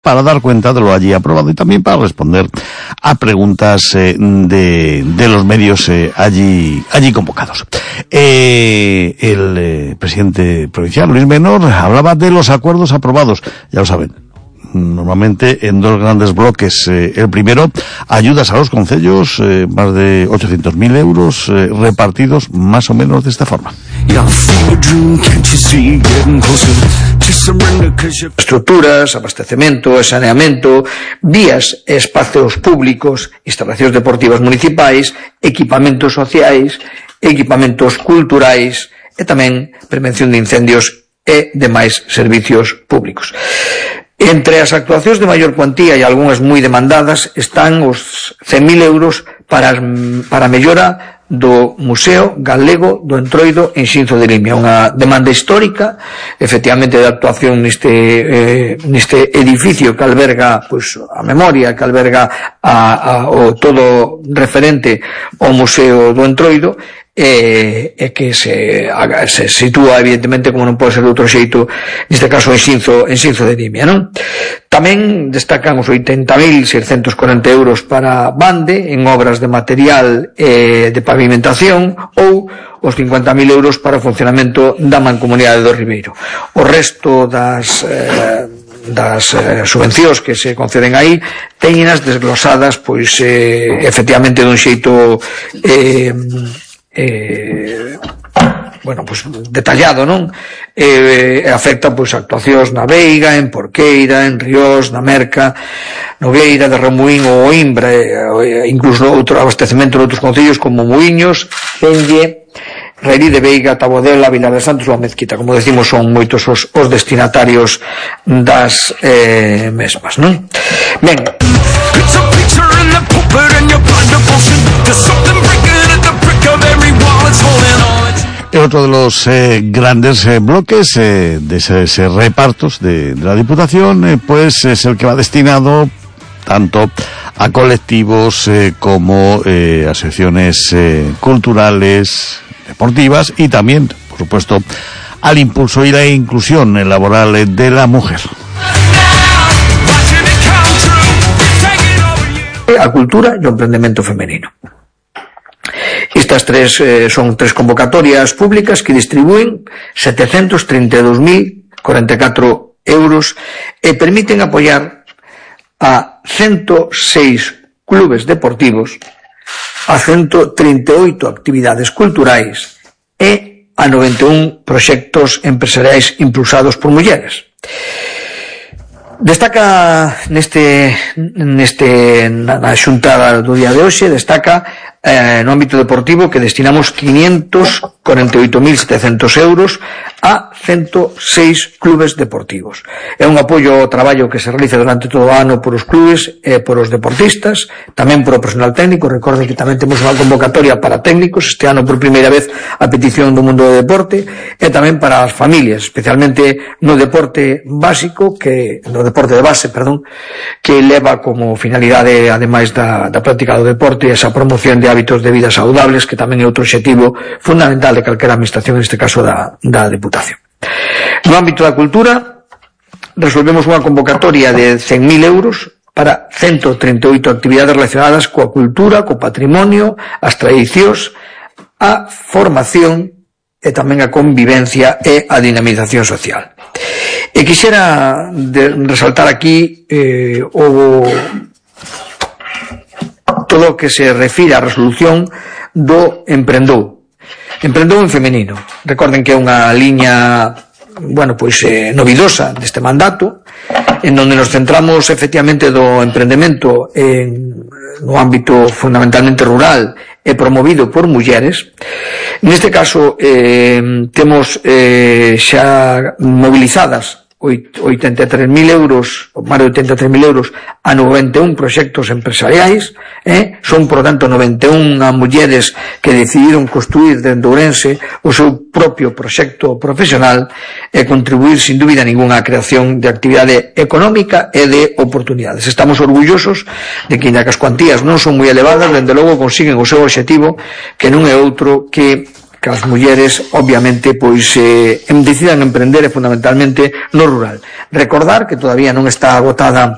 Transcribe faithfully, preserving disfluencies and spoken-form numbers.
para dar cuenta de lo allí aprobado y también para responder a preguntas eh, de, de los medios eh, allí allí convocados. Eh, el eh, presidente provincial, Luis Menor, hablaba de los acuerdos aprobados, ya lo saben, normalmente en dos grandes bloques. Eh, el primero, ayudas a los concellos, eh, más de ochocientos mil euros, eh, repartidos más o menos de esta forma. Estruturas, abastecemento e saneamento, vías e espacios públicos, instalacións deportivas municipais, equipamentos sociais, equipamentos culturais e tamén prevención de incendios e demais servicios públicos. Entre as actuacións de maior cuantía e algunhas moi demandadas están os cen mil euros para, para a mellora do Museo Galego do Entroido en Xinzo de Limia, unha demanda histórica, efectivamente, de actuación neste eh, neste edificio que alberga pois a memoria, que alberga a, a, o todo referente ao Museo do Entroido, e, e que se, se sitúa evidentemente, como non pode ser de outro xeito, neste caso en Xinzo, en Xinzo de Limia, non? Tamén destacan os oitenta mil seiscentos corenta euros para Bande en obras de material e de pavimentación, ou os cincuenta mil euros para o funcionamento da Mancomunidade do Ribeiro. O resto das eh, das eh, subvencións que se conceden aí teñenas desglosadas pois eh, efectivamente dun xeito eh, eh, bueno, pois detallado, non? Eh, afecta pois actuacións na Veiga, en Porqueira, en Ríos, na Merca, Nogueira, de Remuín ou Oimbra, eh, incluso outro abastecemento de outros concellos como Muiños, Enlle, Reirí de Veiga, Tabodela, Vilar de Santos ou a Mezquita. Como decimos, son moitos os, os destinatarios das eh, mesmas, non? Ben, otro de los eh, grandes eh, bloques eh, de esos eh, repartos de, de la Diputación, eh, pues es el que va destinado tanto a colectivos eh, como eh, a secciones eh, culturales, deportivas y también, por supuesto, al impulso y la inclusión laboral de la mujer. A cultura e o emprendemento femenino. Estas tres eh, son tres convocatorias públicas que distribúen setecentos trinta e dous mil cuarenta e catro euros e permiten apoiar a ciento seis clubes deportivos, a ciento trinta e oito actividades culturais e a noventa e un proxectos empresariais impulsados por mulleres. Destaca neste neste na xunta do día de hoxe, destaca eh, no ámbito deportivo que destinamos quinientos cuarenta e oito mil setecentos euros a ciento seis clubes deportivos. É un apoio ao traballo que se realiza durante todo o ano por os clubes e por os deportistas, tamén por o personal técnico. Recorden que tamén temos unha convocatoria para técnicos este ano por primeira vez a petición do mundo do deporte, e tamén para as familias, especialmente no deporte básico, que no deporte de base, perdón, que leva como finalidade, ademais da, da práctica do deporte, esa promoción de hábitos de vida saudables, que tamén é outro obxectivo fundamental de calquera administración, neste caso da, da Deputación. No ámbito da cultura, resolvemos unha convocatoria de cen mil euros para ciento trinta e oito actividades relacionadas coa cultura, co patrimonio, as tradicións, a formación e tamén a convivencia e a dinamización social. E quixera de resaltar aquí eh, o todo o que se refire á resolución do Emprendou. Emprendou en femenino. Recorden que é unha liña, bueno, pois eh, novidosa deste mandato, en donde nos centramos efectivamente do emprendemento en, no ámbito fundamentalmente rural e promovido por mulleres. Neste caso eh, temos eh, xa mobilizadas oitenta e tres mil euros, ou máis de oitenta e tres mil euros a noventa e un proxectos empresariais, eh? Son, por tanto, noventa e un mulleres que decidiron construir dende Ourense o seu propio proxecto profesional e contribuir, sin dúbida ninguna, á creación de actividade económica e de oportunidades. Estamos orgullosos de que, ainda que as cuantías non son moi elevadas, dende logo consiguen o seu obxectivo, que non é outro que que as mulleres, obviamente, pois eh, decidan emprender e fundamentalmente no rural. Recordar que todavía non está agotada